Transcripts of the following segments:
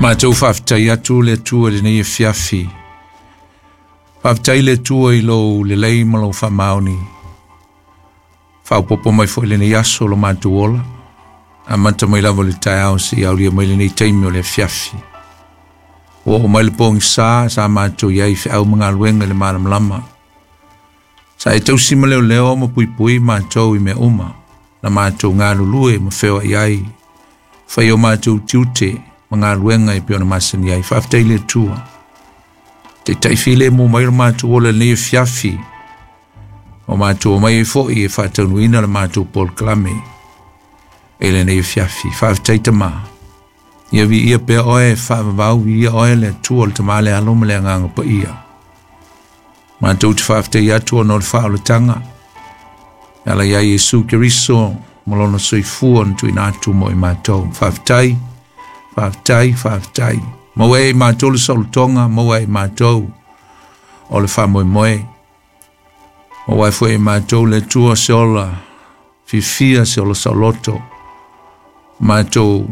Matou faafetai atu le Atua i lenei afiafi. Faafetai le Atua i lou lelei ma lou faamaoni. Faaopoopo mai foi i lenei aso lo matou ola. Amata mai lava i le taeao seia aulia mai lenei taimi o le afiafi. Ua oo mai le pogisa sa matou i ai i feau ma galuega i le malamalama. Sa e tausi ma leoleo ma puipui matou i mea uma, na matou galulue ma feoai ai, fai o matou tiute ma galuega e pei ona masani ai. Faafetai i le Atua. Taitai filemu mai lo matou ola i lenei afiafi, o matou omai ai foi e faataunuuina le matou polokalame i lenei afiafi. Faafetai Tama. Ia viia pea oe, faavavau, viia oe le Atua, le Tama, le Alo ma le Agaga Paia. Matou te faafetai atu ona o le faaolataga e ala ia Iesu Keriso ma lona soifua na tuuina atu mo i matou. Faafetai, faafetai, faafetai. Maua e i matou le saolotoga, maua e i matou o le faamoemoe. Maua ai foi e matou le Atua se ola fiafia, se ola saoloto. Matou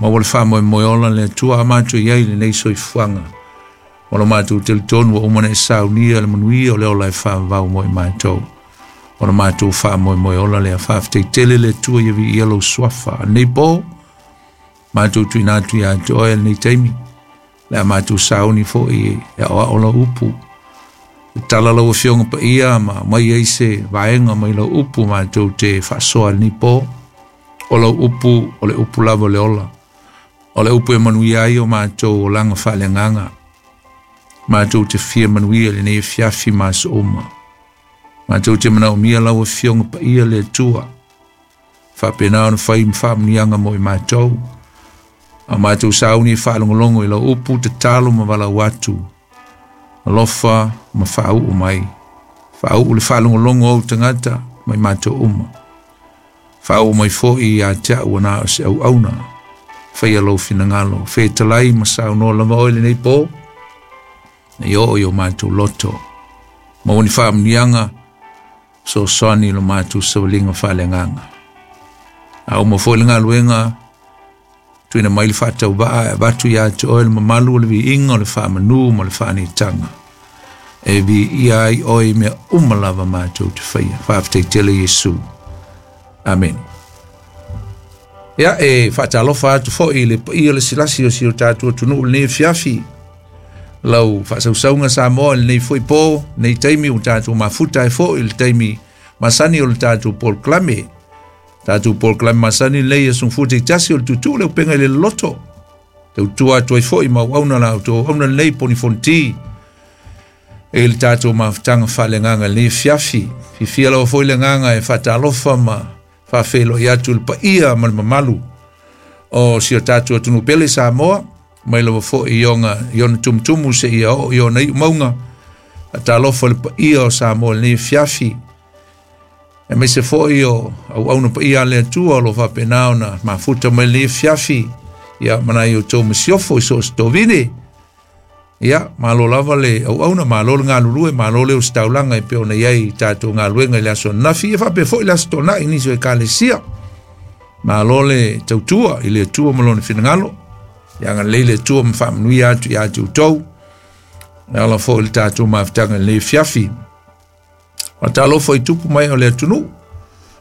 maua le faamoemoe ola le Atua a matou i ai lenei soifuaga. O lo matou talitonu ua uma ona e saunia le manuia o le ola e faavavau mo i matou. O lo matou faamoemoe ola lea. Faafetai tele le Atua ia viia lou suafa. A lenei po, matou tuuina atu ia te oe lenei taimi. Le a matou sauni foi e aoao lau upu. E tala lau Afioga Paia ma aumai ai se vaega mai lau upu matou te faasoa i lenei po. O lau upu, o le upu lava o le ola. O le upu e manuia ai o matou olaga faaleagaga. Matou te fia manuia i lenei afiafi ma aso uma. Matou te manaomia lau Afioga Paia le Atua. Faapena ona fai ma faamanuiaga mo i matou. A matou sauni e faalogologo i lau upu, tatalo ma valaau atu. Alofa ma faauu mai. Faauu le faalogologo o ou tagata mai matou uma. Faauu mai foi ia te au ua na o se auauna. Faia lou finagalo. Fetalai ma saunoa lava oe lenei po. Nei oo i o matou loto. Maua ni faamanuiaga, fesoasoani i lo matou savaliga faaleagaga. A uma foi le galuega, tuuina mai le faatauvaa e avatu ia te oe le mamalu o le viiga o le faamanu ma le faaneetaga. E viia ai oe i mea uma lava matou te faia. Faafetai tele Iesu. Amene. Ia, e faatalofa atu foi i le paia o le silasi o si o tatou atunuu i lenei afiafi. Lau faasausauga Samoa i lenei foi po, lenei taimi ua tatou mafuta ai foi i le taimi masani o le tatou polokalame. Tatou polokalame masani lenei e sungafua taitasi o le tuutuu le upega i le loloto. Tautua atu ai foi ma auauna la outou auauna lenei poni fonoti i le tatou mafutaga faaleagaga i lenei afiafi. Fiafia lava foi le agaga e faatalofa ma faafeiloai atu i le paia ma le mamalu o si o tatou atunuu pele Samoa, mai lava foi i ona, i ona tumutumu seia oo i ona iu mauga. Faatalofa i le paia o Samoa i lenei afiafi, aemaise foi o auauna paia a le Atua o lo o faapena ona mafuta mai lenei afiafi, ia ma nai outou masiofo i so o se tovine. Ia, malo lava le auauna, malo le galulue, malo le ositaulaga e pei ona i ai i tatou galuega i le aso ananafi, ia faapea foi le aso Toonai i nisi o ekalesia. Malo le tautua i le Atua ma lona finagalo. Ia agalelei le Atua ma faamanuia atu ia te outou. E ala foi i le tatou mafutaga i lenei afiafi. Faatalofa i tupu mai o le atunuu,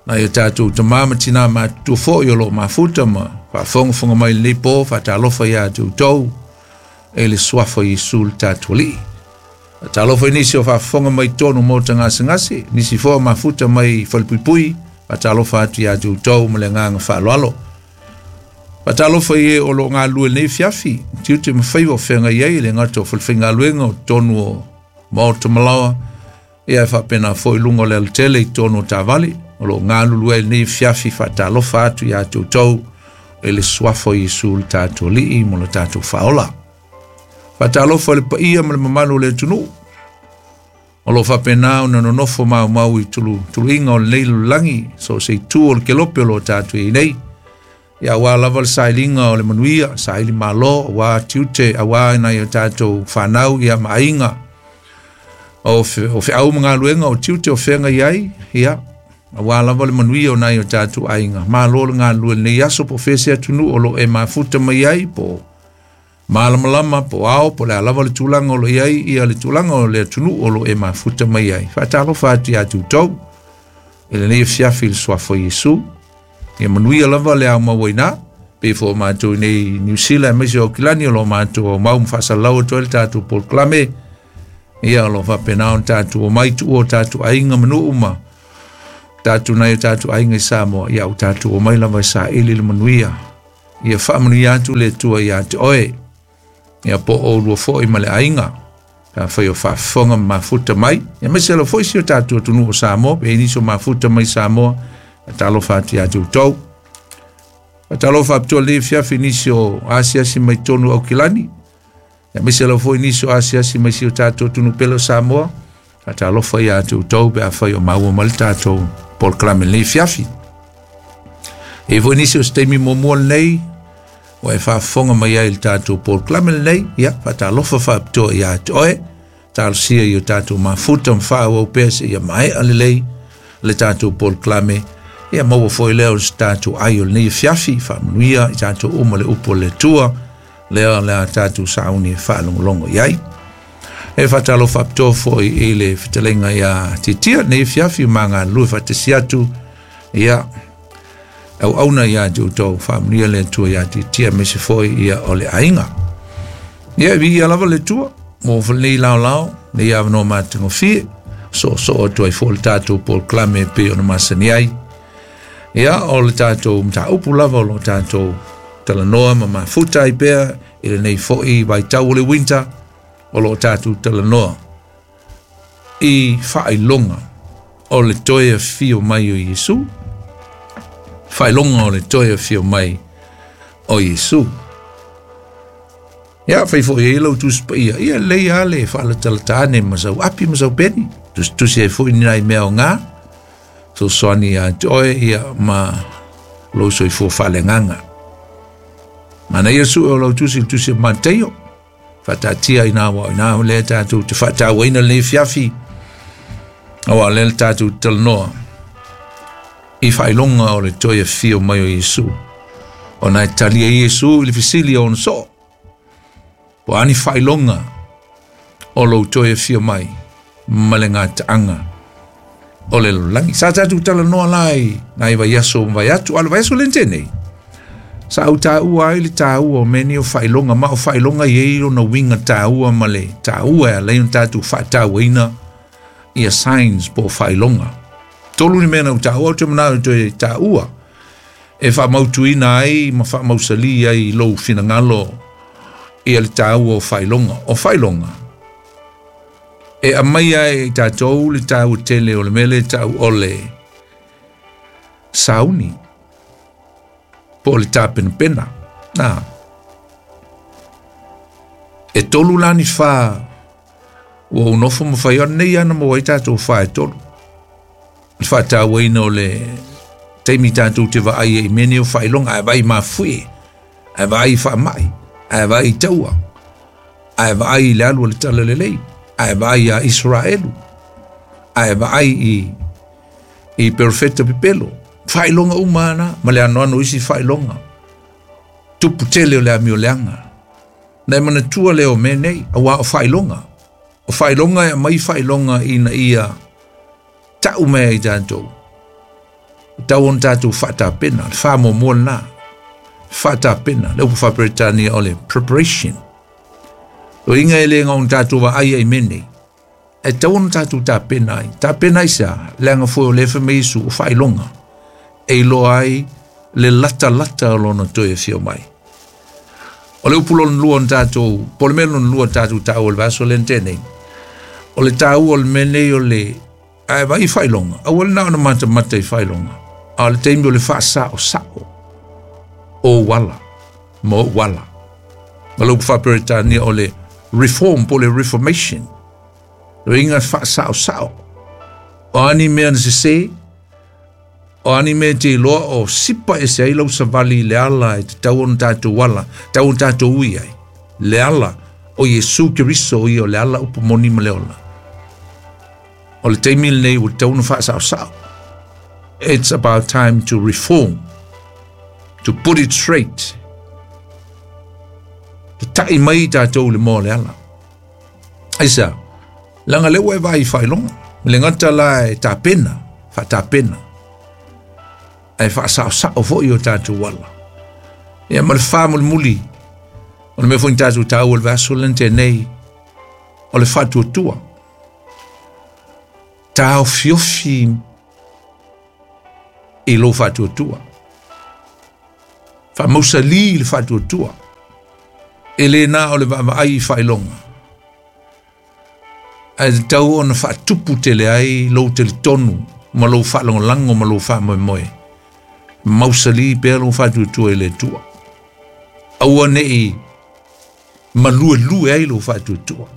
nai o tatou tama ma tina matutua foi o lo o mafuta ma faafogafoga mai i lenei po. Faatalofa ia te outou e le suafa o Iesu le tatou Alii. Faatalofa i nisi o faafofoga mai totonu maota gasegase, nisi foi o mafuta mai falepuipui. Faatalofa atu ia te outou ma le agaga faaaloalo. Faatalofa i e o lo o galulue i lenei afiafi, tiute ma faiva o feagai ai e le gata o falefaigaluega o totonu o maota malaoa, ia e faapena foi luga o le alatele i totonu o taavale o lo o galulue ai lenei afiafi. Faatalofa atu ia te outou i le suafa o Iesu le tatou Alii mo le tatou faaola. Faatalofa i le paia ma le mamalu o le atunuu o lo o faapena ona nonofo maumau i tuluiga o lenei lalolagi, so o se itu o le kelope o lo o tatou i ai nei. Ia, aua lava le sailiga o le manuia, saili malo, aua tiute, aua nai o tatou fanau, ia ma aiga. O feau ma galuega o tiute o feagai ai, ia, aua lava le manuia o nai o tatou aiga. Malo le galulue i lenei aso, po o fea se atunuu o lo o e mafuta mai ai, po o Malamalama po ao po le a lava le tulaga o lo o i ai ia le tulaga o le atunuu o lo o e mafuta mai ai. Faatalofa atu ia te outou i lenei afiafi i le suafa o Iesu. Ia manuia lava le aumau ai ina, pei foi o matou i nei Niu Sila aemaise o Aukilani o lo o matou aumau ma faasalalau atu ai le tatou polokalame. Ia o lo o faapena ona tatou omai tuua o tatou aiga ma nuu ma tatou nai o tatou aiga i Samoa. Ia ua tatou omai lava e saili le manuia. Ia faamanuia atu le Atua ia te oe, ia po o oulua foi ma le aiga, pe afai o faafofoga ma mafuta mai, ia aemaise lava foi si o tatou atunuu o Samoa, pe i ai nisi o mafuta mai Samoa, faatalofa atu ia te outou. Faatalofa faapitoa lenei afiafi i nisi o asiasi mai totonu o Aukilani, aemaise lava foi nisi o asiasi mai si o tatou atunuu pele o Samoa. Faatalofa ia te outou pe afai o maua mai le tatou polokalame lenei afiafi. E foi nisi o se taimi muamua lenei ua e faafofoga mai ai i le tatou polokalame lenei, ia faatalofa faapitoa ia te oe. Talosia i o tatou mafuta ma faaauau pea seia maea lelei le tatou polokalame. Ia maua foi lea o se tatou ai o lenei afiafi, faamanuia i tatou uma le upu a le Atua, lea o le a tatou sauni e faalogologo i ai. E faatalofa faapitoa foi i le fetalaiga ia Titia lenei afiafi ma galulue faatasi atu, ia auauna ia te outou, faamanuia le Atua ia Titia aemaise foi ia o le aiga. Ia, viia lava le Atua mo lenei laolao, lenei avanoa matagofie, soosoo atu ai foi le tatou polokalame e pei ona masani ai. Ia, o le tatou mataupu lava o lo o tatou talanoa ma mafuta ai pea i lenei foi vaitau o le winter, o lo o tatou talanoa i faailoga o le toe afio mai o Iesu, faailoga o le toe afio mai o Iesu. Ia, fai foi ai lau Tusi Paia, ia lelei lava le faalatalata ane ma sau api ma sau peni, tusitusi ai foi ni nai mea aoga, fesoasoani ia te oe ia ma lou soifua faaleagaga. Manaia sue o lau tusi, le tusi o Mataio, faataatia i nā wā o ina lea tatou te faatauaina lenei afiafi, aua lea le tatou talanoa i faailoga o le toe afio mai o Iesu. Ona e tali ai Iesu i le fesili a ona soo, po o a ni faailoga o lou toe afio mai ma le gataaga o le lalolagi. Sa tatou talanoa la i nai vaiaso ma vaiatu, a o le vaiaso lea na tea nei, sa ou taua ai le taua o mea nei o faailoga, ma o faailoga e i ai lona uiga taua ma le taua e ala ai ona tatou faatauaina ia signs po o faailoga. Tolu ni mea na ou taua, ou te manao e toe taua e faamautuina ai ma faamausali ai i lou finagalo ia le taua o faailoga. O faailoga e aumai ai e tatou le taua tele o le mea lea e tau o le sauni po o le tapenapena. Na, e tolu la ni whā ua ou nofo ma fai ona nei ana maua ai tatou whā e tolu. Le faatauaina o le taimi tatou te vaai ai i mea nei o faailoga, ae vaai mafuie, ae vaai i faamai, ae vaai i taua, ae vaai i le alu a le talalelei, ae vaai iā Isaraelu, ae vaai i i perofeta pepelo. Faailoga uma ana ma le anoano o isi faailoga. Tupu tele o le amioleaga. Na e manatua lea o mea nei, auā o faailoga. O faailoga e aumai faailoga ina ia tau mai ai tatou. E tau ona tatou faatapena, le faamuamua lena. Faatapena, le upu faa-Peretania o le preparation. O inga e le ona tatou vaai ai i mea nei. E tau ona tatou tapena ai. Tapena ai sea, leaga foi o lea fai mai Iesu o faailoga. E iloa ai le latalata o lona toe afio mai. O le upu lona lua ona tatou, po o le mea lona lua tatou taua i le vaiaso lea na tea nei, o le taua o le mea nei o le, ae vaai i faailoga, aua le na ona matamata i faailoga, a o le taimi o le faasaosao o ou ala ma ou ala. O le upu faa-Peretania o le reform po o le reformation, o inga faasaosao. O a ni mea na sese, O a ni mea e te iloa o sipa ese ai lau savali i le ala e tatau ona tatou ala, tatau ona tatou ui ai, le ala o Iesu Keriso o ia o le ala upu moni ma le ola. O le taimi lenei ua tatau ona faasaosao. It's about time to reform, to put it straight. Tatai Ta'i mai i tatou i le moa o le ala. Aisea? Leaga lea ua e vaai i faailoga. E le gata la e tapena, faatapena, ae faasaosao foi o tatou ala. Ia ma le faamulimuli, o le mea foi na tatou taua i le vaiaso lea na tea nei, o le faatuatua. Taofiofi i lou faatuatua. Faamausali le faatuatua. E le na o le vaavaai i faailoga, ae tatau ona faatupu tele ai lou talitonu ma lou faalagolago ma lou faamoemoe. Mausali pea lou faatuatua i le Atua. Aua ne i maluelue ai lou faatuatua.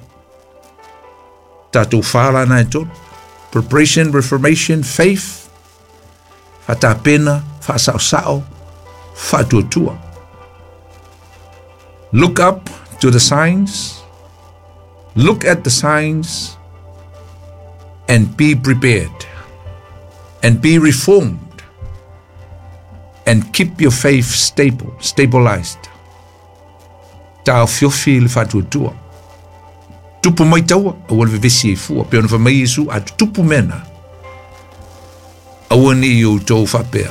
Tatou fa la na e tolu. Preparation, reformation, faith, faatapena, faasaosao, faatuatua. Look up to the signs, look at the signs, and be prepared, and be reformed, and keep your faith stable, stabilized. Taofiofi le faatuatua. Tupu mai taua, aua le vevesi ai fua. Pei ona fai mai Iesu, a tutupu mea na, aua ne i outou faapea,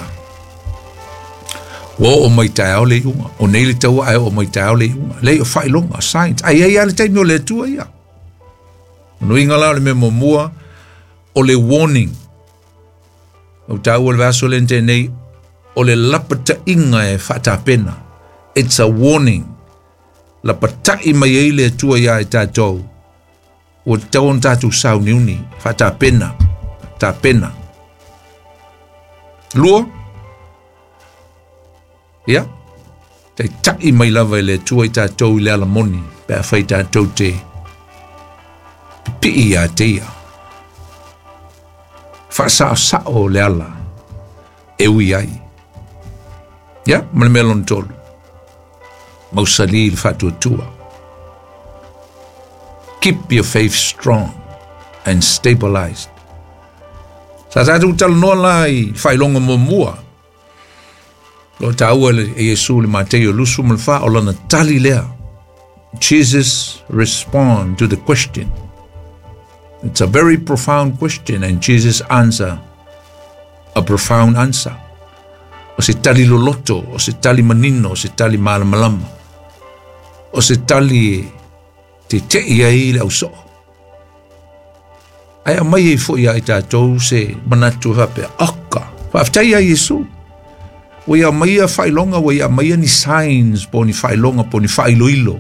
ua oo mai taeao le iuga, o nei le taua ae oo mai taeao le iuga. Leai, o faailoga, signs. Ae i ai lava le taimi o le Atua ia. O lona uiga la o le mea muamua, o le warning. Ou taua le vaiaso lea na tea nei, o le lapataiga e faatapena. It's a warning. Lapatai mai ai le Atua iā i tatou, ua tatau ona tatou sauniuni, faatapena, tapena. Lua, ia, taitai mai lava e le Atua i tatou i le ala moni, pe afai tatou te pipii ia te ia. Faasaosao le ala e ui ai. Ia, ma le mea lona tolu, mausali le faatuatua. Keep your faith strong and stabilized. Sa tatou talanoa la i faailoga muamua, o lo o taua e Iesu i le Mataio 24, o lana tali lea. Jesus respond to the question. It's a very profound question and Jesus answer a profound answer. O se tali loloto, o se tali manino, o se tali malamalama, o se tali e tete'i ai le ausoo. Ae aumai ai foi ia i tatou se manatu e faapea, oka, faafetai ia Iesu. Ua ia aumaia faailoga, ua ia aumaia ni signs po o ni faailoga po o ni faailoilo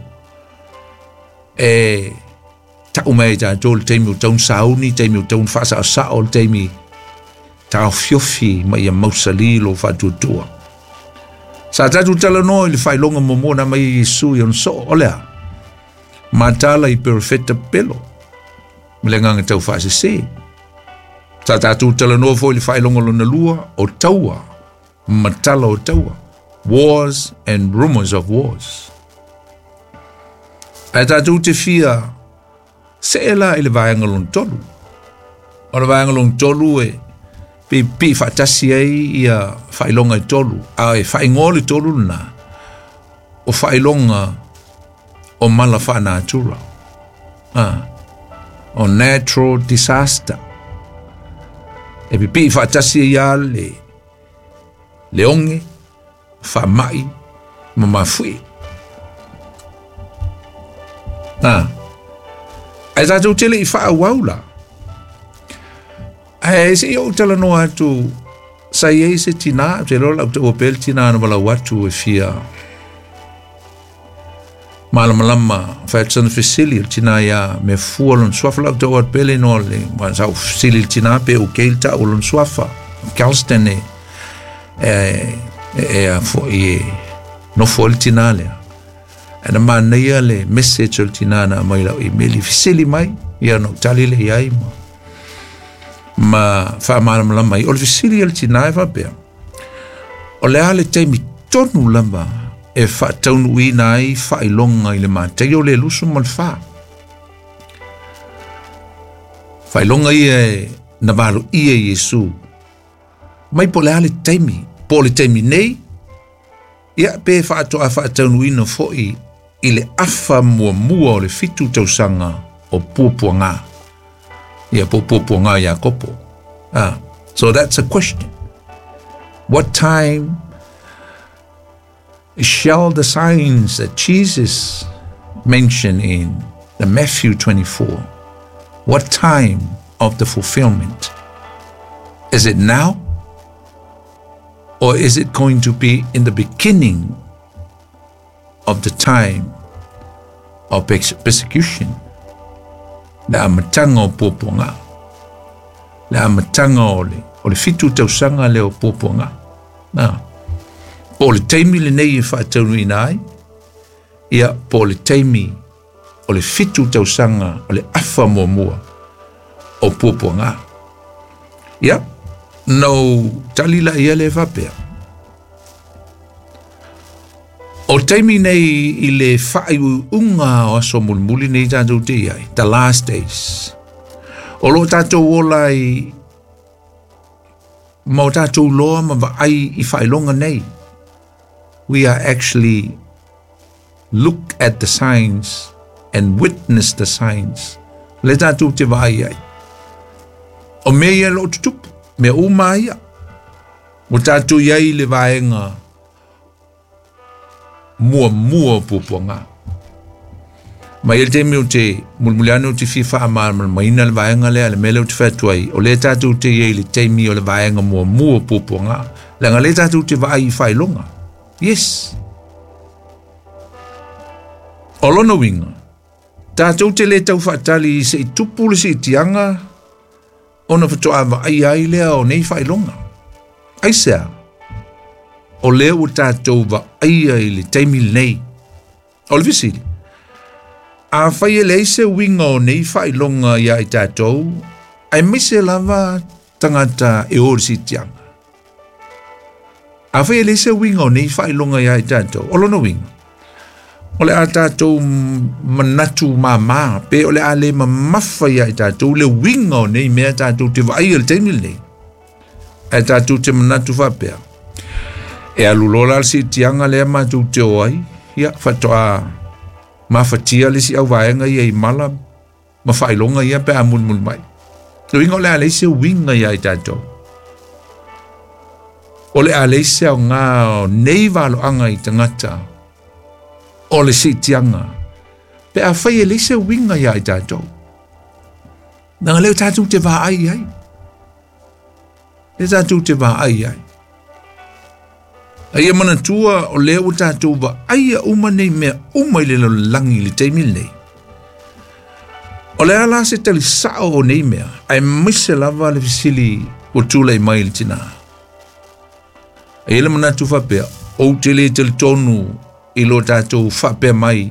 e tau mai ai tatou le taimi ua tatau ona sauni, taimi ua tatau ona faasaosao, le taimi taofiofi ma ia mausali lou faatuatua. Sa tatou talanoa i le faailoga muamua na aumai e Iesu i ona soo, o le a? Matala i perofeta pepelo ma le agaga tau faasese. Sa tatou talanoa foi i le faailoga lona lua o taua, matala o taua, wars and rumors of wars. Ae tatou te fia see la i le vaega lona tolu. O le vaega lona tolu e pipii faatasi ai ia faailoga e tolu, a e faaigoa le tolu lena o faailoga o mala faanatura, o natural disaster. E pipii faatasi ai lava le oge, faamai ma mafuie. Ae tatou te le i faaauau la. Ae se i ou talanoa atu, sa i ai se tinā, ou te iloa o le a ou taua pea le tinā na valaau atu e fia malamalama, fai atu sana fesili, o le tinā ia mea fua lona suafa, o le a ou taua atu pea le igoa o le, sa ou fesili i le tinā pe okay le tau o lona suafa, Galston e, e, e, e a foi e nofo ai le tinā lea. Ae na manaia le message o le tinā na aumai i lau email i fesili mai, ia ona ou tali lea i ai ma, ma faamalamalama ai. O le fesili a le tinā e faapea, o le a le taimi tonu lava e faataunuuina ai faailoga i le Mataio le 24? Faailoga ia e na valoia e Iesu mai po o le a le taimi, po o le taimi nei, ia pe faatoa faataunuuina foi I le afa muamua o le 7 tausaga o puapuaga. Ia po puapuaga Iakopo. So that's a question. What time shall the signs that Jesus mentioned in the Matthew 24, what time of the fulfillment? Is it now? Or is it going to be in the beginning of the time of persecution? Le amataga o puapuaga. Le amataga o le 7 tausaga lea o puapuaga. Po o le taimi lenei e faataunuuina ai, ia po o le taimi o le 7 tausaga o le afa muamua o puapuaga. Ia, no tali la ia le faapea. O taimi nei i le faaiuiuga o aso mulimuli nei tatou te iai, the last days. O lo tatou ola i ma o tatou loa ma vaai i faailoga nei. We are actually look at the signs and witness the signs. Le tatou te vaai ai. O mea ia lo tutupu, mea uma ia. O tatou iai le vaega muamua o puapuaga. Ma i le taimi o te mulimuliane o te fia faamalamalamaina le vaega lea, le mea lea o te fai atu ai, o lea tatou te iai le taimi o le vaega muamua o puapuaga. Leaga lea tatou te vaai i faailoga. Yes. O lona uiga, tatou te le tau faatali i se i tupu le siitiaga ona faatoa vaai ai lea o nei faailoga. Aisea, o lea ua tatou vaaia i le taimi lenei. O le fesili, afai e leai se uiga o nei faailoga ia i tatou, aemaise lava tagata e o i le siitiaga. Afai e leai se uiga o nei faailoga ia i tatou, o lona uiga, o le a tatou manatu māmā, pe o le a le mamafa ia i tatou le uiga o nei mea tatou te vaai i le taimi lenei. Ae tatou te manatu faapea, e alu loa la le siitiaga lea matou te o ai, ia faatoa mafatia le isi auvaega ia i mala ma faailoga ia pe a mulimuli mai. Le uiga o le a leai se uiga ia i tatou. O le a leai se aoga o nei valoaga i tagata o le siitiaga pe afai e leai se uiga ia i tatou. Leaga lea tatou te vaai ai. Lea tatou te vaai ai. A ia manatua o lea ua tatou vaaia uma nei mea uma i le lalolagi i le taimi lenei. O le a la se tali sao o nei mea, aemaise lava le fesili ua tulai mai i le tinā. A ia le manatu faapea, ou te le talitonu i lo tatou faapea mai,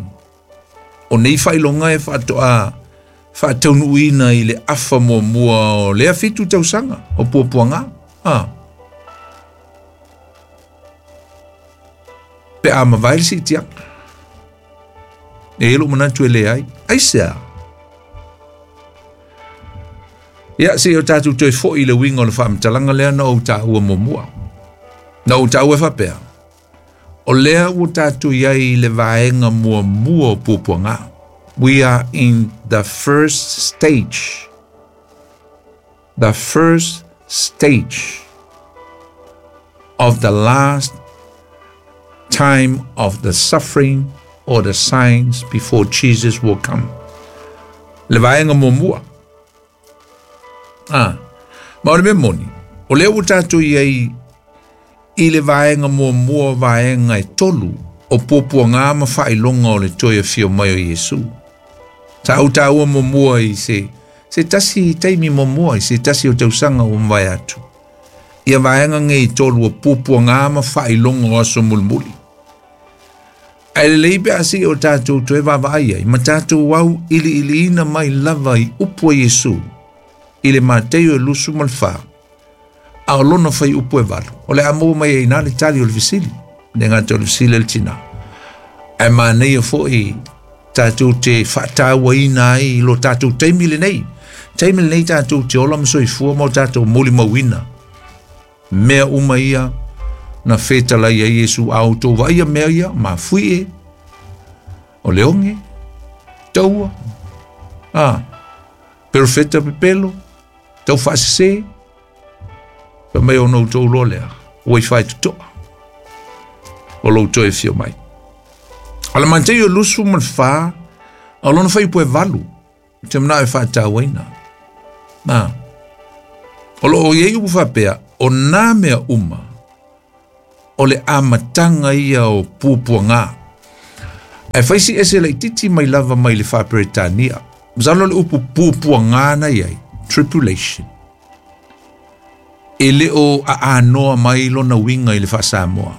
o nei faailoga e faatoa faataunuuina i le afa muamua o lea 7 tausaga o puapuaga. Pe a mavae le siitiaga. E i lou manatu e leai. Aisea. Ia, se i o tatou toe foi i le uiga o le faamatalaga lea na ou taua muamua. Na ou taua e faapea, o lea ua tatou iai i le vaega muamua o puapuaga. We are in the first stage. The first stage of the last time of the suffering or the signs before Jesus will come. Le vaega muamua. Ma o le mea moni, o lea ua tatou iai i le vaega muamua o vaega e 3 o puapuaga ma faailoga o le toe afio mai o Iesu. Sa ou taua muamua i se tasi taimi muamua i se tasi o tausaga ua mavae atu. Ia vaega nei 3 o puapuaga ma faailoga o aso mulimuli. Ae lelei pe a sei o tatou toe vaavaai ai, ma tatou au iliiliina mai lava i upu a Iesu i le Mateio e 24, a o lona fai upu e 8. O le a maua mai ai nā le tali o le fesili, le gata o le fesili le tinā. Ae manaia foi tatou te faatauaina ai i lo tatou taimi lenei. Taimi lenei tatou te ola ma soifua ma o tatou molimauina. Mea uma ia na fetalai ai Iesu a outou vaaia mea ia, mafui e. O le oge, taua, a, perofeta pepelo, tau faasesē, fai mai ona outou iloa lea, ua i faitotoa o lou toe afio mai. O le Mataio 24, o lona fuaiupu e 8, ou te manao e faatauaina. Na, o loo i ai upu faapea, o nā mea uma, o le amataga ia o puapuagā. Ae fai si ese laititi mai lava mai le faa-Peretania. Masalo le upu puapuagā na i ai, tribulation. E le o aanoa mai lona uiga i le faa-Samoa.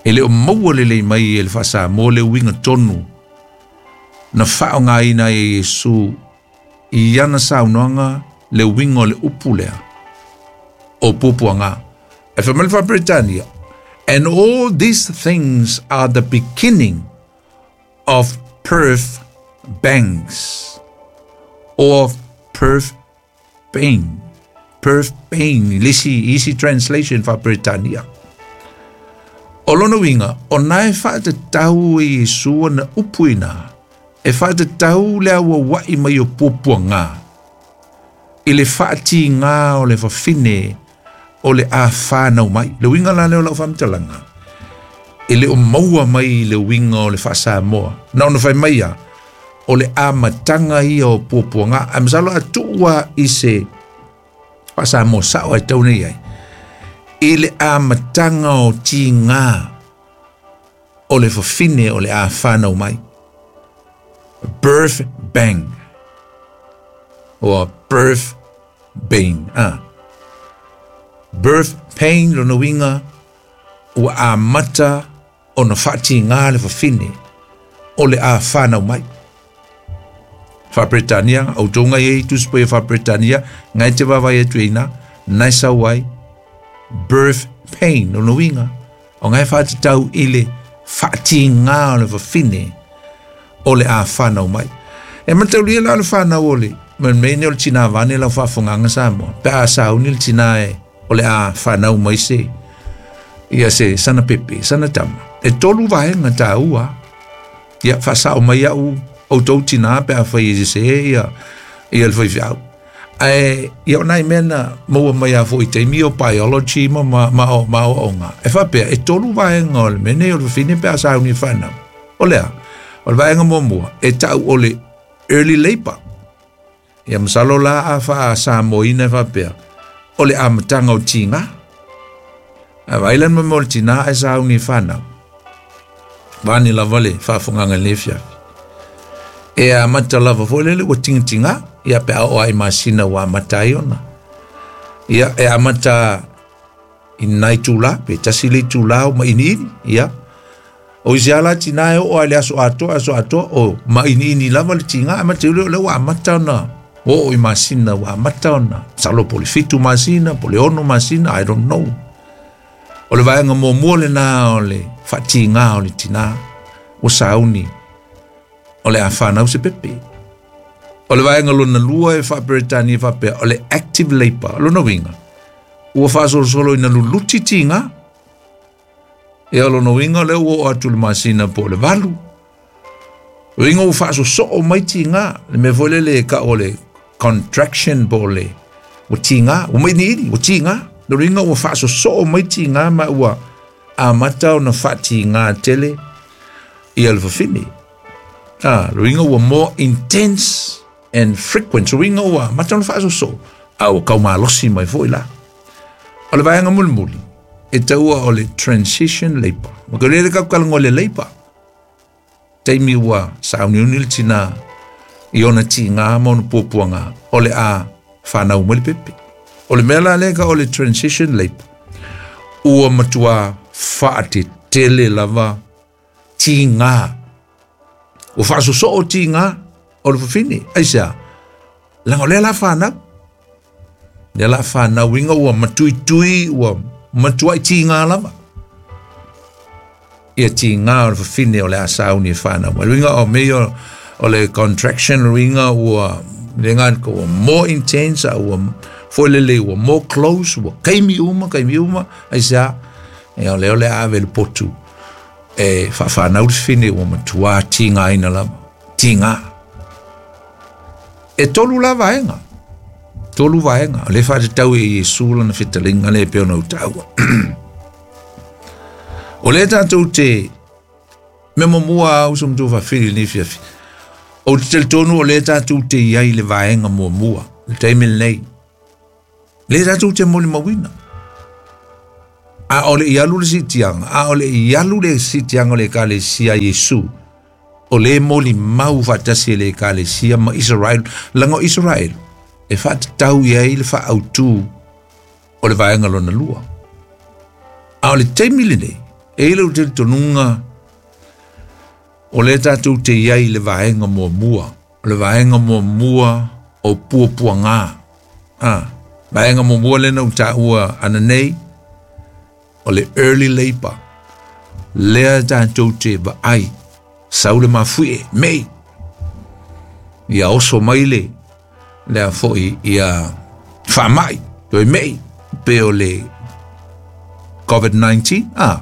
E le o maua lelei mai e le faa-Samoa le uiga tonu na faaaogaina ai e Iesu i ana saunoaga le uiga o le upu lea o puapuagā. Ae fai mai le faa-Peretania, and all these things are the beginning of birth pangs or birth pain. Birth pain, le isi, isi translation faa-Peretania. O lona uiga, o na e faatatau e Iesu ana upu ina, e faatatau le auauai mai o puapuagā, i le faatigā o le fafine o le a whānau mai. Le uiga la lea o lau faamatalaga, e le o maua mai le uiga o le faa-Samoa. Na ona fai mai ia, o le amataga ia o puapuagā. Ae masalo a tuua i se faa-Samoa sao ai tau nei ai, i le amataga o tigā o le fafine o le a whānau mai. Birth bang. Or birth pain. Ah. Birth pain lona uiga ua amata ona faatigā le fafine o le a whānau mai. Faa-Peretania, outou ngai ei Tusi Paia faa-Peretania, ngai te vaavaai atu ai i ina, na e sau ai, birth pain, lona uiga, o ngai faatatau i le faatigā o le fafine o le a whānau mai. E mataulia la o le whānau o le, ma le mea nei o le tinā vaeane lau faafofogaaga Samoa, pe a sauni le tinā e o le a whānau mai se, ia se sana pepe, sana tama. E tolu vaega taua, ia faasao mai au outou tinā pe afai e sesē ia, ia le faifeau. Ae ia o nai mea na maua mai a foi i taimi o biology ma ma ma o ma aoaoga. E faapea, e tolu vaega o le mea nei o le fafine pe a sauni e whanau. O le a? O le vaega muamua, e tau o le early labour. Ia masalo la a faa-Samoaina e faapea, o le amataga o tigā. Ae vaai la le mea o le tinā ae sauni e whanau. Vaeane lava le faafofogaga i lenei afiafi. E amata lava foi lele ua tigatigā, ia pe a oo lava i masina ua amata ai ona. Ia e amata i nai itulā, pe tasi le itulā o mainiini, ia. O isi lava la tinā e oo lava i le aso atoa, aso atoa, o mainiini lava le tigā, ae matou le o lea ua amata ona oo i masina, ua amata ona, masalo po o le 7 masina, po o le 6 masina, I don't know. O le vaega muamua lenā o le faatigā o le tinā, ua sauni o le a whanau se pepe. O le vaega lona lua e faa-Peretania faapea, o le active labour, lona uiga, ua faasolosolo ina luluti tigā. Ia o lona uiga o lea ua oo atu i le masina po o le 8. Uiga ua faasosoo mai tigā, le mea foi lele e tau o le contraction po o le ua tigā, ua mainiini, ua tigā. Lona uiga ua faasosoo mai tigā ma ua amata ona faatigā tele ia le fafine. Ah, lona uiga ua more intense and frequent. Lona uiga ua amata ona faasosoo, a ua kaumalosi mai foi la. O le vaega mulimuli, e taua o le transition labour. Ma ke lele kau talanoa i le labour. Taimi ua sauniuni le tinā i ona tigā ma ona puapuagā, o le a whanau mai le pepe. O le mea la lea ka o le transition labour, ua matua faatetele lava tigā. Ua faasosoo tigā o le fafine. Aisea? Leaga o lea la whanau. Lea la whanau inga ua matuitui, ua matuai tigā lava. Ia tigā o le fafine o le a sauni e whanau mai. Uiga o mea o le contraction uiga ua le ngā ua more intense, a ua foi lele ua more close, ua kaimi uma, kaimi uma, aisea, ia o lea o le a ave le potu. E faafanau le fafine ua matuā tigaina lava, tigā. E tolu la vaega, tolu vaega, o lea e faatatau e Iesu lana fetalaiga lea e pei ona ou taua. O lea tatou te mea muamua a uso ma tuafafine i lenei afiafi, ou te talitonu o lea tatou te i ai i le vaega muamua, le taimi lenei. Lea tatou te molimauina. A o le i alu le siitiaga, a o le i alu le siitiaga o le Ekalesia a Iesu, o le molimau faatasi e le Ekalesia ma Israel, laga o Israel, e faatatau i ai le faaautu o le vaega lona lua. A o le taimi lenei, e i lou talitonuga, o lea tatou te i ai i le vaega muamua, o le vaega muamua o puapuaga. Ah, vaega muamua lea na ou taua ananei, o le early labor. Lea tatou te vaai, sau le mafuie, mei. Ia oso mai le, lea foi ia faamai, toe mei, pe o le COVID-19, ah,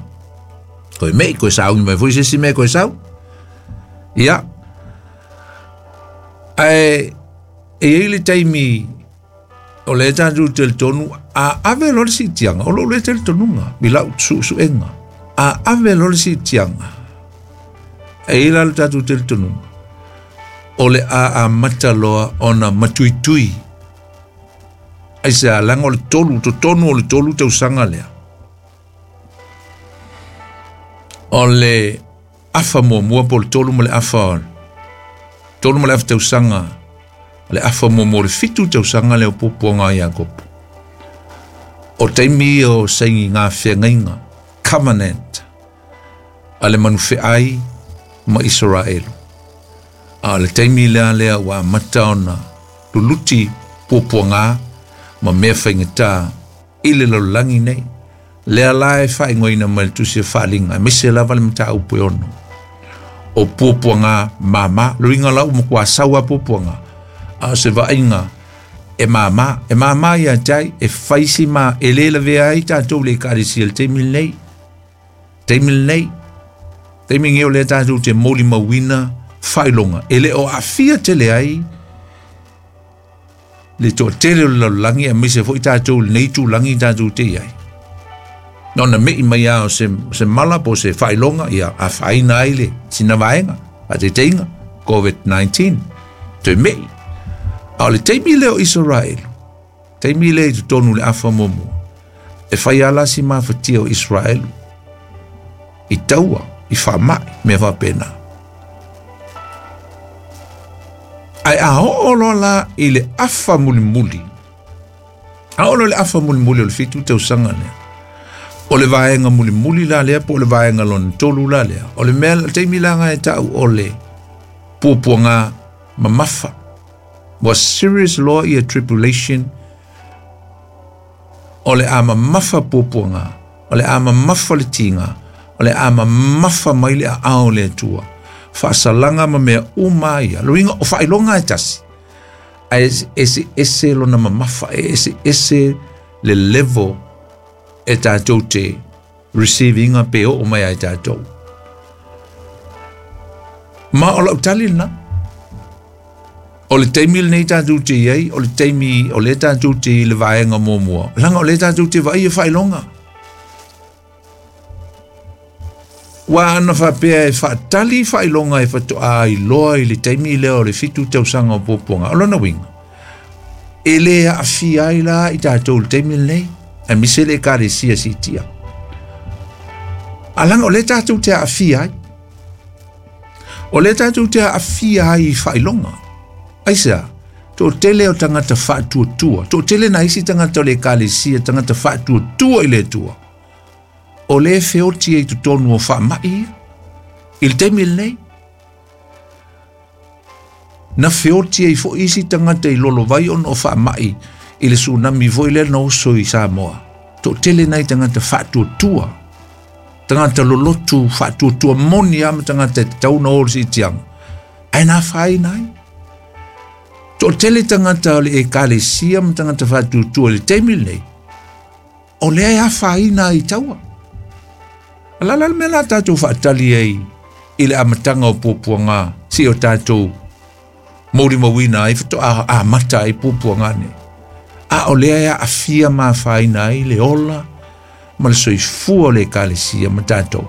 toe mei, koe sauni mai foi se isi mea koe sau. Ia, ae e i ai le taimi o lea tatou talitonu a ave loa le siitiaga, o lou lea talitonuga i lau suesuega, a ave loa le siitiaga, e i ai la le tatou talitonuga o le a amata loa ona matuitui. Aisea? Leaga o le tolu, totonu o le tolu tausaga lea, o le afa muamua po o le tolu ma le afa, 3.5 tausaga, o le afa muamua o le 7 tausaga lea o puapuaga a Iakopo. O taimi ia o saini ngā feagaiga, covenant, a le manufeai ma Isaraelu. A o le taimi lea lea ua amata ona luluti puapuaga ma mea faigata i le lalolagi nei. Lea la e faaigoaina mai le tusi o Faaaliga, aemaise lava le mataupu e 6. O puapuaga mama, luiga la ua matua sau a puapuaga, a o se vaaiga e mama, e mama ia te ai, e fai si ma, e le lavea ai tatou le ekalesia i le taimi lenei. Taimi lenei, taimi lenei o lea tatou te molimauina faailoga, e le o aafia tele ai le toatele o le lalolagi, aemaise foi tatou i lenei itulagi tatou te i ai. Na ona mei mai lava o se mala po o se faailoga, ia afaina ai le sina vaega, faataitaiga, COVID-19, toe mei. A o le taimi lea o Isaraelu, taimi lea i totonu i le afa muamua, e fai lava la si mafatia o Isaraelu i taua, i faamai, mea faapena. Ae a oo loa la i le afa mulimuli, a oo loa i le afa mulimuli o le 7 tausaga lea, o le vaega mulimuli la lea po o le vaega lona tolu la lea, o le mea, le taimi la nga e tau o le puapuaga mamafa. Ua serious loa ia tribulation, o le a mamafa puapuaga, o le a mamafa le tiga, o le a mamafa mai le aao o le Atua. Faasalaga ma mea uma ia. Luiga o faailoga e tasi, ae ese ese lona mamafa, e ese ese le level e tatou te receiving pe oo mai ai tatou. Ma o lau tali lena. O le taimi lenei tatou te i ai, o le taimi o lea tatou te i le vaega muamua. Leaga o lea tatou te vaai e faailoga. Ua ana faapea e faatali faailoga e faatoa iloa i le taimi lea o le 7 tausaga o puapuaga. O lona uiga, e le aafia ai la i tatou i le taimi lenei, aemaise le ekalesia siitia. A leaga o lea tatou te aafia ai. O lea tatou te aafia ai i faailoga. Aisea? Toatele o tagata faatuatua, toatele nai isi tagata o le ekalesia, tagata faatuatua i le Atua, o lea feoti ai totonu o faamai ia, i le taimi lenei. Na feoti ai foi isi tagata i lolovai ona o faamai i le tsunami foi lea na oso i Samoa. Toatele nai tagata faatuatua, tagata lolotu faatuatua moni lava ma tagata e tatau ona o le siitiaga, ae na afaina ai. Toatele tagata o le ekalesia ma tagata faatuatua i le taimi lenei, o lea e afaina ai i taua. A le a le mea o le a tatou faatali ai i le amataga o puapuaga seia o tatou molimauina ai faatoa amata ai puapuaga nei? A o lea e aafia ma afaina ai le ola ma le soifua o le Ekalesia ma tatou.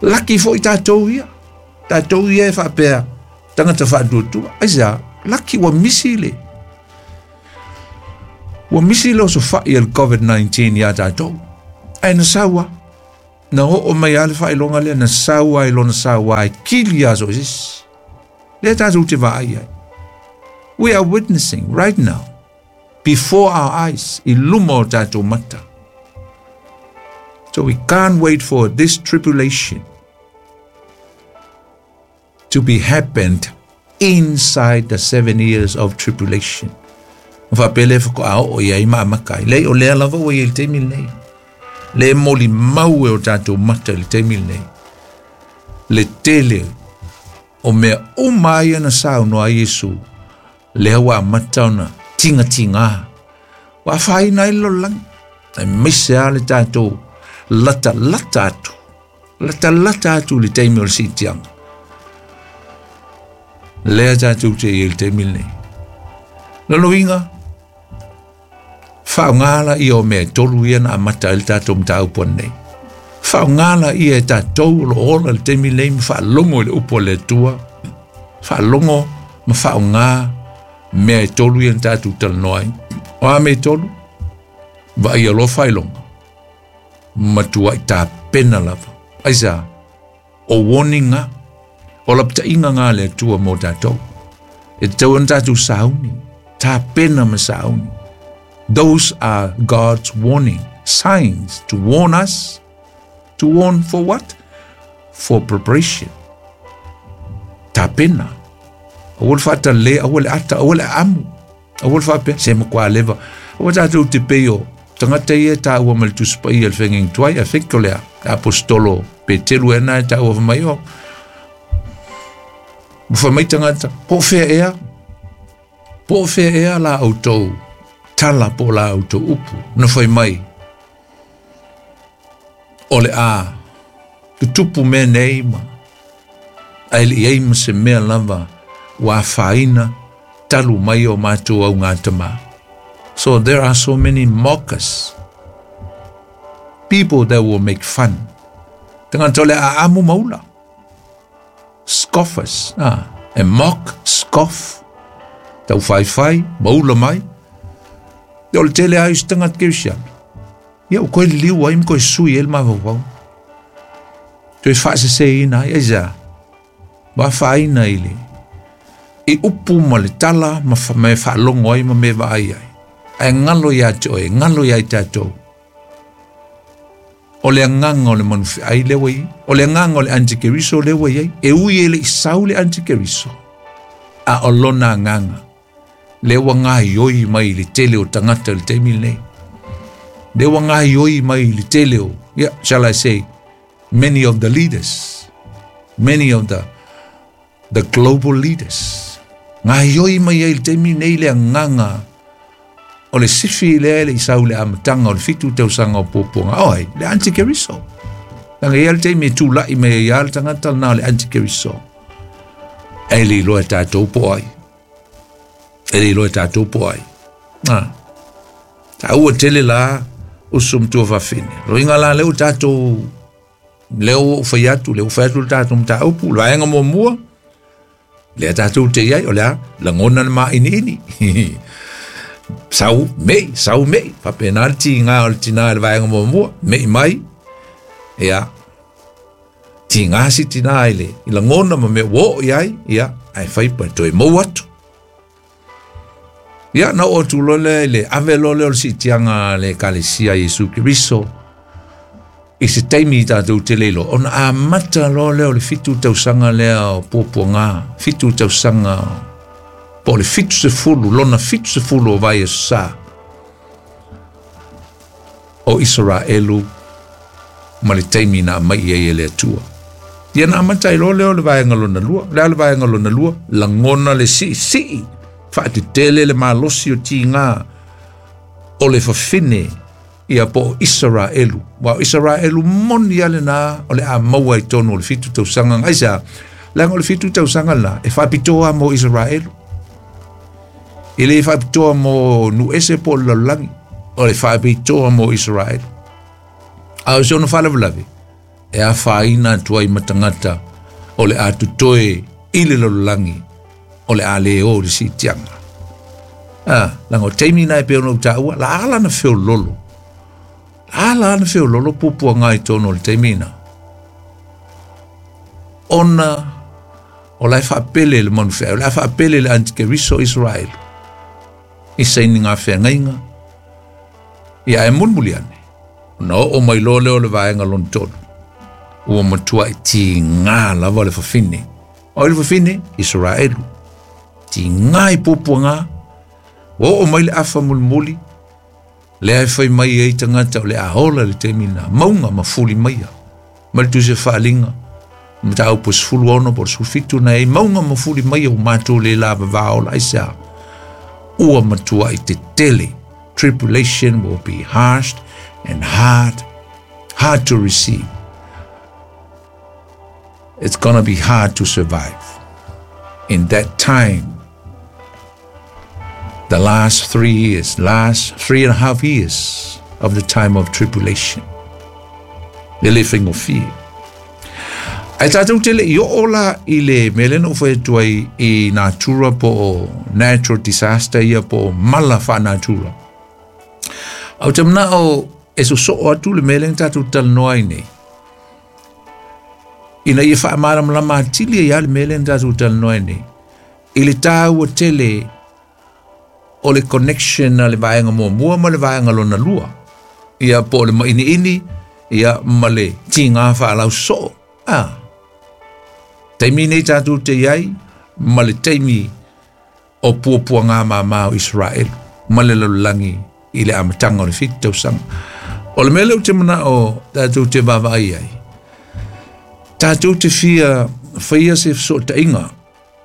Laki foi tatou ia. Tatou ia e faapea tagata faatuatua. Aisea? Laki ua misi le ua misi le osofai a le COVID-19 iā tatou. Ae na sau lava. Na oo mai lava le faailoga lea, na sau lava i lona sauā e kili lava so o se isi. Lea tatou te vaai ai. We are witnessing right now, before our eyes, i luma o tatou mata. So we can't wait for this tribulation to be happened inside the 7 years of tribulation. Ma faapea lea faatoa oo i ai ma amata ai. Leai, o lea lava ua i ai i le taimi lenei. Le molimau e o tatou mata i le taimi lenei. Le tele o mea uma ia na saunoa ai Iesu, lea ua amata ona tigatigā. Ua afaina ai le lalolagi. Aemaise lava le tatou latalata atu. Latalata atu i le taimi o le siitiaga. Lea tatou te i ai i le taimi lenei. Lona uiga, faaaoga laia o mea e tolu ia na amata ai le tatou mataupu ananei. Faaaoga laia e tatou o lo o ola i le taimi lenei ma faalogo i le upu a le Atua. Faalogo ma faaaoga mea e tolu ia na tatou talanoa ai. O a mea e tolu? Vaaia loa faailoga. Matuai tapena lava. Aisea? O warning ga, o lapataiga ga a le Atua mo tatou. E tatau ona tatou sauni, tapena ma sauni. Those are God's warning signs to warn us. To warn for what? For preparation. Tapena. Aua le faatalale, aua le ata, aua le aamu. Aua le faapea, se matua leva. Aua tatou te pei o tagata ia e taua ma le Tusi Paia i le Feagaiga Tuai, I think o le aposetolo Peteru ea na e taua fai mai o. Ua fai mai tagata, po o fea ea, po o fea ea la outou tala po o la outou upu na fai mai o le a tutupu mea nei ma ae le i ai ma se mea lava ua afaina talu mai o matou augatama. So there are so many mockers. People that will make fun. Tagata o le a aamu ma ula. Scoffers. Ah, e mock, scoff. Taufaifai, ma ula mai. O le tele lava o isi tagata kerisiano. Ia ua toe liliu ai ma toe sui ai le mafaufau. Toe faaseseina ai, aisea? Ua afaina i le i upu ma le tala ma mea faalogo ai ma mea vaai ai. Ae galo ia te oe, galo ia i tatou. O le agaga o le manufeai lea ua i ai. O le agaga o le antikeriso lea ua i ai. E ui e le i sau le antikeriso, a o lona agaga lea ua gaoioi mai i le tele o tagata i le taimi lenei. Lea ua gaoioi mai i le tele o, yeah, shall I say, many of the leaders, many of the global leaders. Gaoioi mai ai i le taimi lenei le agaga o le sifi lea e le i sau i le amataga o le 7 tausaga o puapuaga. O ai? Le antikeriso. Leaga e i ai le taimi e tulai mai ai lava le tagata lena o le antikeriso. Ae le iloa e tatou po o ai. E le iloa e tatou po o ai. Ah. Taua tele la uso ma tuafafine. Loiga la lea ua tatou lea ua ou fai atu, lea ua fai atu le tatou mataupu, le vaega muamua, lea tatou te i ai, o le a, lagona le māʻiniʻini. Sau meʻi, sau meʻi, faapena le tiga o le tinā i le vaega muamua, meʻi mai, ia, tiga si tinā i le i lagona ma mea ua oo i ai, ia, ae fai pa toe mou atu. Ia, na oo atu loa lea i le ave loa lea o le siitiaga a le Ekalesia a Iesu Keriso i se taimi tatou te le iloa, ona amata loa lea o le 7 tausaga lea o puapuaga, 7 tausaga po o le 70, lona 70 o vaiaso sa o Isaraelu ma le taimi na aumai i ai e le Atua. Ia na amata ai loa lea o le vaega lona lua. O le a le vaega lona lua? Lagona le siisii, faatetele le malosi o tiga o le fafine. Ia po o Isaraelu. Wa o Isaraelu moni ale na o le a maua i tonu o le 7 tausaga. Aisea, leaga o le 7 tausaga la e faapitoa mo Isaraelu. E le faapitoa mo nuese po o le lalolagi, o le faapitoa mo Isaraelu. A o se ono faalavelave e afaina atu ai ma tagata o le a totoe i le lalolagi o le a le o le siitiaga. Leaga o taimi na e pei ona ou taua, la ala na feololo. Ala na feololo pupuaga i tonu o le taimi na. Ona o la e faapele le manufea, o la e faapele le antikeriso Israel. I saini ngā wheangaiga. Ia e mulimuli ane. Ona oo mai loa lea o le vaega lona tolu. Ua matua i tigā lava le fafine. O le fafine, Israelu. Tigā i puapuaga. Ua oo mai le afa mulimuli. Lea e fai mai ai tagata o le a ola le taimi na. Mauga ma fuli maia. Ma le tusi faaliga. Mataupu 16 po o le 17 na e mauga ma fuli maia ua matou le lavavā ola. Aisea, ua matua i tetele. Tribulation will be harsh and hard, hard to receive. It's gonna be hard to survive. In that time, the last 3 years, last 3.5 years of the time of tribulation. Le le faigofie. Ae tatou te le i oo la i le mea lea na ou fai atu ai i natura po o natural disaster ia po o mala faanatura. Ae ou te manao e sosoo atu le mea lea na tatou talanoa ai nei. Ina ia faamalamalama atili ai lava le mea lea na tatou talanoa ai nei. I le taua tele o le connection a le vaega muamua ma le vaega lona lua. Ia po o le mainiini, ia ma le tigā faalausoo. Taimi nei tatou te iai ma le taimi o puapuaga māmā o Israelu ma le lalolagi i le amataga o le 7 tausaga. O le mea lea ou te manao tatou te vaavaai ai, tatou te fia faia se fesootaiga.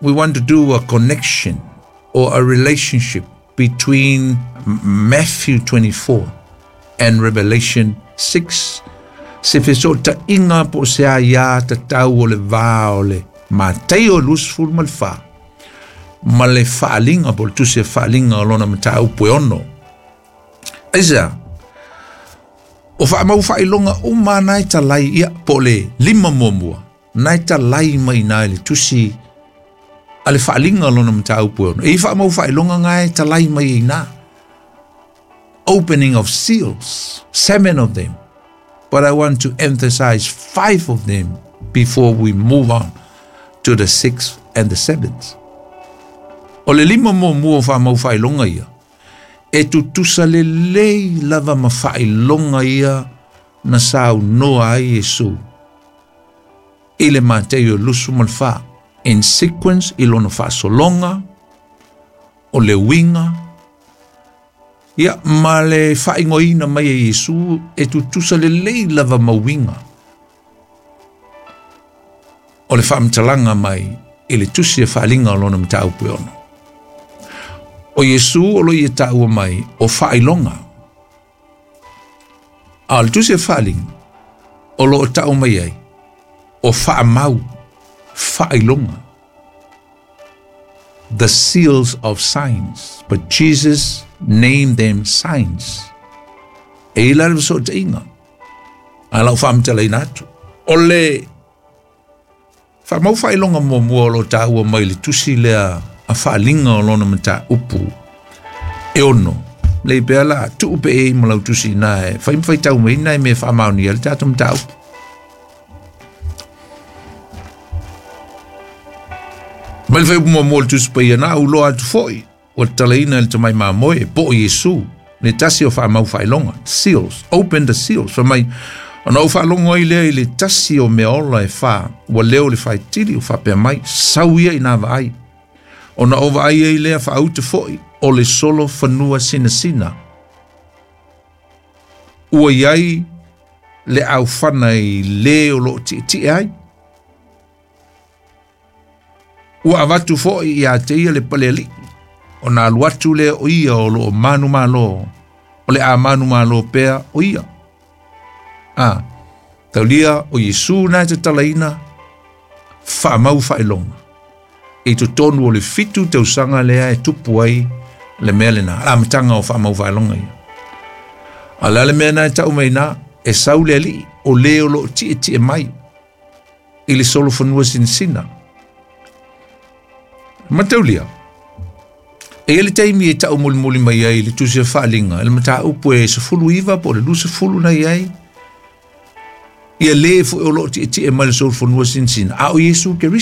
We want to do a connection or a relationship between Matthew 24 and Revelation 6. Se fesootaiga po o se aiā tatau o le va o le Mataio 24 ma le faaliga po o le tusi e faaliga o lona mataupu e 6. Aisea, o faamau faailoga uma na e talai ia po o le 5 muamua na e talai mai na i le tusi a le faaliga o lona mataupu e 6. E i faamau faailoga nga e talai mai i na. Opening of seals, 7 of them. But I want to emphasize 5 of them before we move on to the 6th and the 7th. O le 5 muamua o faamau faailoga ia, e tutusa lelei lava ma faailoga ia na saunoa ai Iesu i le Mataio 24, in sequence i lona faasologa, o le uiga, ia ma le faaigoaina mai e Iesu e tutusa lelei lava ma uiga o le faamatalaga mai i le tusi e faaliga o lona mataupu e 6. O Iesu o lo ia taua mai o faailoga. A o le tusi e faaliga o lo o tau mai ai o faamau faailoga. The seals of signs, but Jesus named them signs. E ila le fesootaiga a lau faamatalaina atu. O le faamau faailoga muamua o lo taua mai le tusi lea a faaliga o lona mataupu e 6. Lei pea la tuu pe e ma lau tusi na e fai ma faitau mai na e mea faamaonia le tatou mataupu. Mai le fai muamua le tusi paia na au loa atu foi ua tatalaina e le tamai mamoe po o Iesu le tasi o faamau faailoga. Seals, open the seals. Fai mai, ona ou faalogo ai lea i le tasi o mea ola e 4, ua leo le faitili o faapea mai, sau ia i nā vaai. Ona o vaai ai lea faauta foi o le solo fanua sinasina. Ua iai le aufana i le o loo tietie ai. Ua avatu foi ia te ia le palealii, ona alu atu lea o ia o loo manumalo O le a manumalo pea o ia. A, taulia o Iesu na e tatalaina faamau faailoga i totonu o le 7 tausaga lea e tupu ai le mea lena, le amataga o faamau faailoga ia. A o le a le mea na e tau mai i ina? E sau le alii o le o loo tietie mai i le solofanua sinasina. Mataulia, e i ai le taimi e tau mulimuli mai ai le tusi a faaliga i le mataupu e 19 po o le 20 na i ai, ia le foi o loo tietie mai le solofanua sinasina, a o Iesu Keriso.